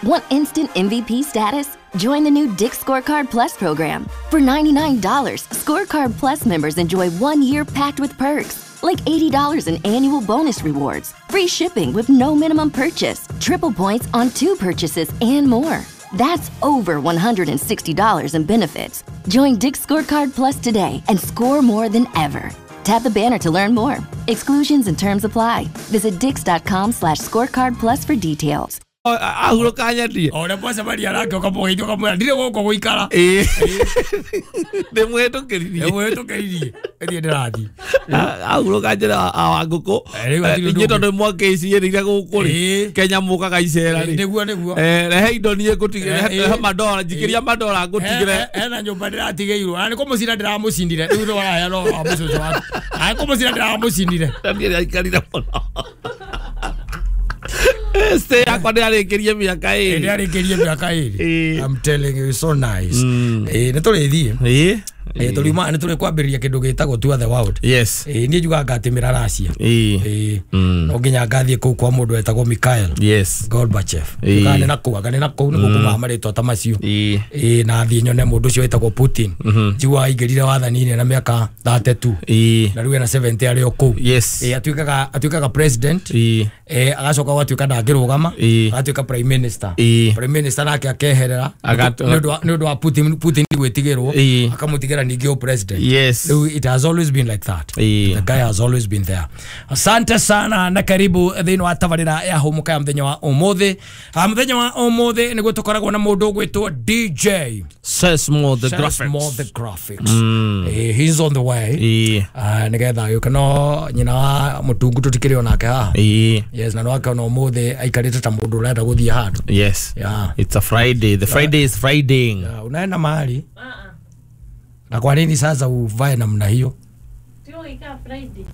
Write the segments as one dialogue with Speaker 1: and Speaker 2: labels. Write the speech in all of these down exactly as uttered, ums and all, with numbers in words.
Speaker 1: Want instant M V P status? Join the new Dick's Scorecard Plus program. For ninety-nine dollars, Scorecard Plus members enjoy one year packed with perks, like eighty dollars in annual bonus rewards, free shipping with no minimum purchase, triple points on two purchases, and more. That's over one hundred sixty dollars in benefits. Join Dick's Scorecard Plus today and score more than ever. Tap the banner to learn more. Exclusions and terms apply. Visit dicks.com slash scorecard plus for details.
Speaker 2: Ahurũka nyendie
Speaker 3: o ũrĩa mwacemania nake ũkamũgeithia ũkamwĩra ndirĩ gũkũ gũikara
Speaker 2: ĩĩ ndĩmũhĩtũkĩririe
Speaker 3: ndĩmũhĩtũkĩririe ĩthiĩ ndĩrathiĩ
Speaker 2: ahurũka njĩra wa ngũkũ inyuĩ tondũ mwakĩciĩrĩire gũkũ rĩ Kenya mũkaga icera rĩ
Speaker 3: nĩguo nĩguo
Speaker 2: rehe indo niĩ ngũtigĩre rehe mandora njikĩria mandora ngũtigĩre
Speaker 3: hena nyũmba ndĩratigĩirwo na nĩ kũmũcinda ndĩramũcindire rĩu nĩ waraheana wa mũcũcũ waku na nĩ kũmũcinda ndĩramũcindire
Speaker 2: niĩ ndĩraikarire mũno Este yakwa ndĩarĩkĩrie mĩaka ĩrĩ
Speaker 3: ndĩarĩkĩrie mĩaka ĩrĩ I'm telling you so nice eh nĩ tũrĩthiĩ
Speaker 2: ĩĩ
Speaker 3: eh tũriuma nĩ tũrĩ kwambĩrĩria kĩndũ gĩtagwo Tour the World
Speaker 2: yes
Speaker 3: eh niĩ njugaga ngatĩmĩra Russia
Speaker 2: ĩĩ
Speaker 3: ĩĩ no nginya ngathiĩ kũu kwa mũndũ wetagwo Mikhail
Speaker 2: yes
Speaker 3: Gorbachev kana na kũu anga nĩ na kũu nĩguo kumaga marĩtwa ta macio
Speaker 2: ĩĩ
Speaker 3: ĩĩ na thiĩ nyone mũndũ ũcio wetagwo Putin njiguaga aingĩrire wathani-inĩ na mĩaka thirty-two
Speaker 2: ĩĩ
Speaker 3: na rĩu ena seventy arĩ o kũu
Speaker 2: yes
Speaker 3: ĩĩ atuĩkaga atuĩkaga president
Speaker 2: ĩĩ
Speaker 3: eh agacoka gwatuĩka ndangĩrũgama agatuĩka prime minister
Speaker 2: ĩĩ
Speaker 3: prime minister nake akeherera nĩ ũndũ wa Putin Putin gwĩtigĩrwo akamutigĩra ningĩ o president
Speaker 2: yes
Speaker 3: it has always been like that
Speaker 2: e.
Speaker 3: The guy has always been there. Asante sana na karibu thĩinĩ wa tabarĩra ya hũmũka ya mũthenya wa ũmũthĩ. Mũthenya wa ũmũthĩ nĩguo tũkoragwo na mũndũ ũgwĩtwo D J
Speaker 2: Sesmo the Graphics.
Speaker 3: Sesmo the Graphics.
Speaker 2: Mm.
Speaker 3: Eh, he's on the way.
Speaker 2: E.
Speaker 3: Uh, nĩgetha agĩũka no nyina wa mũtungu tũtikĩrĩ onake haha.
Speaker 2: E.
Speaker 3: Yes, na no akona ũmũthĩ aikarĩte ta mũndũ ũrenda gũthiĩ handũ.
Speaker 2: Yes.
Speaker 3: Yeah.
Speaker 2: It's a Friday. The Friday is Friday.
Speaker 3: Yeah, unaenda mahali? Uh-uh. Na kwa nini sasa uvae namna hiyo?
Speaker 4: Sio ika Friday.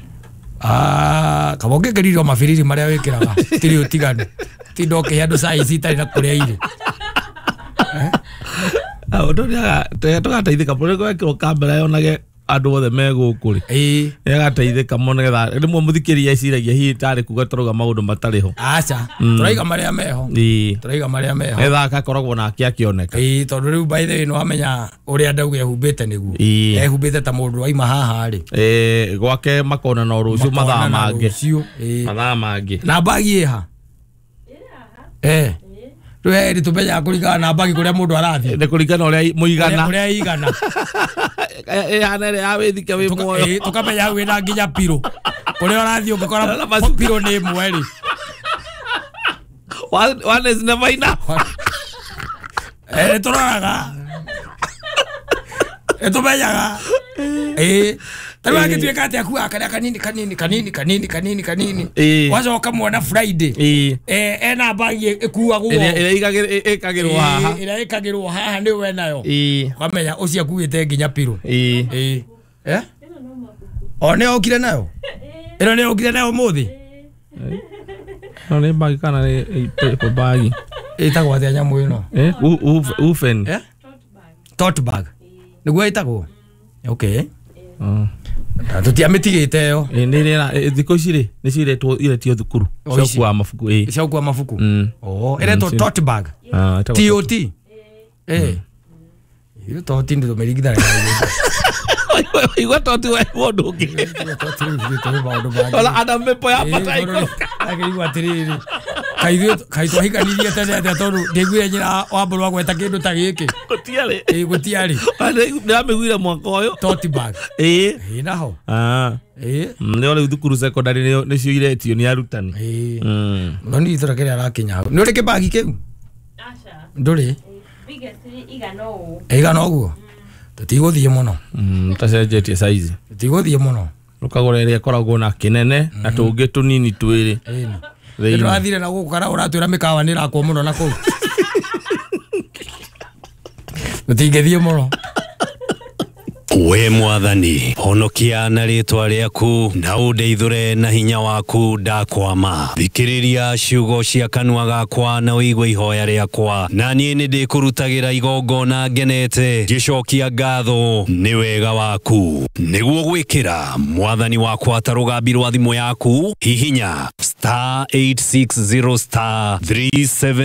Speaker 3: Ah, kama ũngĩkĩririo mabiriri marĩa wĩkĩraga tiri ũtiganu tinda ũkĩhe andũ size itarĩ na kũrĩa irĩ.
Speaker 2: Ah, ũndũ nĩ tũgateithĩka mũno gwekĩrwo kamera yonage andũ othe me gũkũ rĩ.
Speaker 3: Ĩĩ.
Speaker 2: Nĩagateithĩka mũno nĩgetha rĩmwe mũthikĩrĩria eciragia hihi tarĩ kuga tũrauga maũndũ matarĩ ho.
Speaker 3: Aca, tũraiga marĩa meho.
Speaker 2: Ĩĩ.
Speaker 3: Tũraiga marĩa meho.
Speaker 2: Nĩgetha agakoragwo nake akĩoneka.
Speaker 3: Ĩĩ, tondũ rĩu by the way nĩwamenya ũrĩa ndauga ehumbĩte nĩguo.
Speaker 2: Ĩĩ.
Speaker 3: Ehumbĩte ta mũndũ waima haha rĩ.
Speaker 2: Ĩĩ, gwake makonana o rũciũ mathaa mangĩ.
Speaker 3: Rũciũ. Ĩĩ.
Speaker 2: Mathaa mangĩ.
Speaker 3: Na mbagi ĩ ha?
Speaker 4: Ĩ haha.
Speaker 3: Eh. Rĩu hĩndĩ tũmenyaga kũringana na mbagi kũrĩa mũndũ arathiĩ.
Speaker 2: Nĩ kũringana ũrĩa mũigana.
Speaker 3: Ũrĩa ĩigana.
Speaker 2: Ĩhana ĩrĩa ya wĩthike wĩ muoyo.
Speaker 3: Ĩĩ, tũkamenya hau ĩna nginya pirũ. Kũrĩa ũrathiĩ ũngĩkora pirũ nĩ ĩmwe rĩ.
Speaker 2: One, one is never enough.
Speaker 3: Eh, nĩ tũroraga. Nĩ tũmenyaga. Ĩĩ. Ta rĩu angĩtuĩka atĩ akuaga karĩa kanini kanini kanini kanini kanini kanini. Wacoka muona Friday.
Speaker 2: Ĩĩ.
Speaker 3: Eh, ena mbagi ĩkuagwo.
Speaker 2: Ĩrĩa ĩkagĩrwo haha.
Speaker 3: Ĩrĩa ĩkagĩrwo haha nĩwe nayo.
Speaker 2: Ĩĩ.
Speaker 3: Ũkamenya ũcio akuĩte nginya pirũ.
Speaker 2: Ĩĩ.
Speaker 3: Ĩĩ. Eh? O nĩ okire nayo? Ĩno nĩ okire nayo ũmũthĩ?
Speaker 2: No nĩ mbagi kana nĩ paper bag?
Speaker 3: Ĩtagwo atĩa nyamũ ĩno?
Speaker 2: Eh, ufen.
Speaker 3: Eh? Tote bag. Nĩguo ĩtagwo? Okay.
Speaker 2: Mm.
Speaker 3: Tũtiamĩtigĩte ĩyo.
Speaker 2: Ĩ nĩ ĩrĩa thikũ ici rĩ nĩ ciretwo iretio thukuru
Speaker 3: O, ici.
Speaker 2: cia mabuku ĩ.
Speaker 3: Cia gũkua mabuku.
Speaker 2: Mm.
Speaker 3: Oh, ĩretwo tote bag.
Speaker 2: Ah, ĩtagwo
Speaker 3: T O T. Eh. Iyo toti ndĩ tũmĩringithania.
Speaker 2: Igua toti we mũndũ ũngĩ.
Speaker 3: Toti rĩu ithuĩ tũrĩ maũndũ mangĩ.
Speaker 2: Ona ana mĩpo ya bata ikũrũka.
Speaker 3: Akĩigua atĩrĩrĩ. Kaĩ ithuĩ kaĩ twahikanirie tene atĩa tondũ ndĩiguire nyina wa mbũrũ agweta kĩndũ ta gĩkĩ.
Speaker 2: Gũtiarĩ.
Speaker 3: Ĩ gũtiarĩ.
Speaker 2: Ndĩramĩiguire mwaka ũyũ.
Speaker 3: Tote bag.
Speaker 2: Ĩ.
Speaker 3: Ĩ naho.
Speaker 2: Ah.
Speaker 3: Ĩ.
Speaker 2: Nĩ rĩu thukuru secondary nĩcio iretio nĩ arutani.
Speaker 3: Ĩ.
Speaker 2: Mm.
Speaker 3: No nĩ itũra kĩrĩa arakinya hau. Nĩ ũrĩ kĩbagi kĩu?
Speaker 4: Aca.
Speaker 3: Ndũrĩ?
Speaker 4: Biggest igana ũũ.
Speaker 3: Ĩigana ũguo? Tũtigũthiĩ mũno.
Speaker 2: Mm, tacenjetie size.
Speaker 3: Tũtigũthiĩ mũno.
Speaker 2: Ũkagũra ĩrĩa ĩkoragwo na kĩnene na tũngĩ tũnini twĩrĩ.
Speaker 3: Ĩni.
Speaker 2: Thĩinĩ.
Speaker 3: Nĩtũrathire na gũkũ kana ũratwĩra mĩkawa nĩ ĩrakwo mũno na kũu. Tũtingĩthiĩ mũno.
Speaker 5: We mwathani honokia na rĩtwa rĩaku na ũndeithũre na hinya waku ndakwama. Thikĩrĩria ciugo cia kanua gakwa na ũigue ihoya rĩakwa, na niĩ nĩ ndĩkũrutagĩra igongona ngenete ngĩcokia ngatho nĩ wega waku. Nĩguo gwĩkĩra mwathani wakwa ta rũgambi rwa thimũ yaku, hihinya star eight six zero star three seven